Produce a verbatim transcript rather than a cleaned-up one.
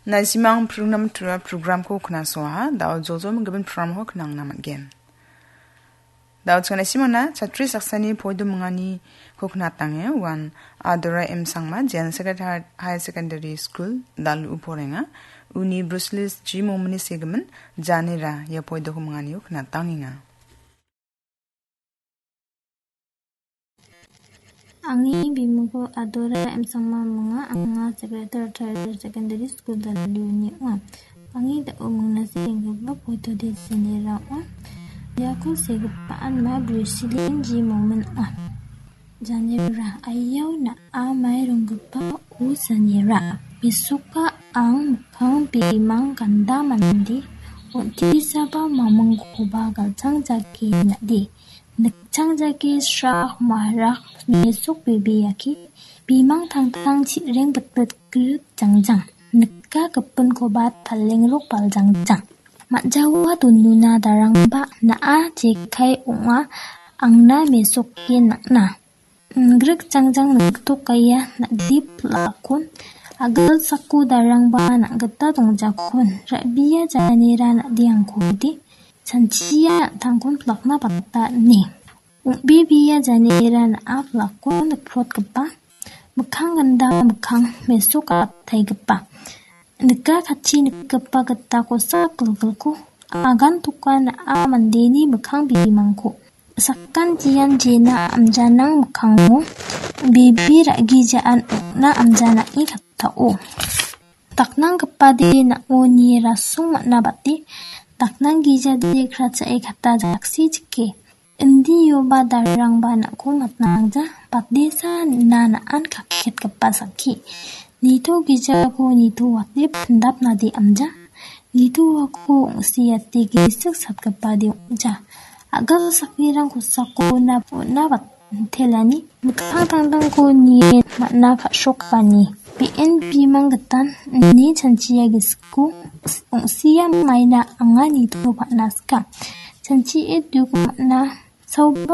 Nasimang program tura programko knasoaha, dao jojo minggimin programko knangna man·gen. Dao chingana simana chatri saksani poido minganiko knatange, uan Adora M Sangma, Jen Secretary Higher Secondary School, Dalu porenga, uni Bruce Lee G Momini segimin, Janera, ia poidoko minganio knatangenga. Angni bimingko Adora M Sangma minga, anga Secretary Higher Secondary School Daluni ong·a. Angni dao mingna senggipa poido de Janera ong·a. Iako segipaan ma Bruce Lee G Momin ong·a. Janera, aiao na·a mai ronggipa o Janera. Mesoka ang mikkang bimang ganda mande, on·tisaba mamingkoba galchang jake na·de. Nikchang jake sra marak mesok bebeaki, bimang tangtang chi·reng bitbit grit jangjang. Nika gipinkoba talengrok baljangjang. Ma·jawa donuna darangba na·a jekai ong·a, angna mesoke nang·na. Ingrik jangjang niktokaia na·de pil·akon, agilsako darangba na·gita dongjakon, ra·bia Janera na·de angkode, chanchia an·tangkon pil·akna bata ine. Ong·bebea Janera na·a pil·akon nikprotgipa, mikkang ganda mikkang mesok ataigipa. Nika katchi nikgipa gita kosak gilgilko agan toka na·a mandeni mikkang bimangko. Sakan jian jena amjanang mikkango bebe ra·gijaan ong·na amjanange kattao. Daknanggipade na·o nie rasong man·a bate, daknanggijade krachae kata jaksi jike. Indioba darangba na·ko matna angja, batesa na na·an kaketgipa sakki. Nito gijako nito wate pindapnade amja, nito uako ong·siate gisik satgipade ong·ja. A·gil saknirang kosako na on·a batelani, mikkang tangtangko nie man·a ka·srokani. Be·en bimang gitan ine chanchia gisiko ong·sia maina anga nitoba na sika. Chanchie duko man·a saoba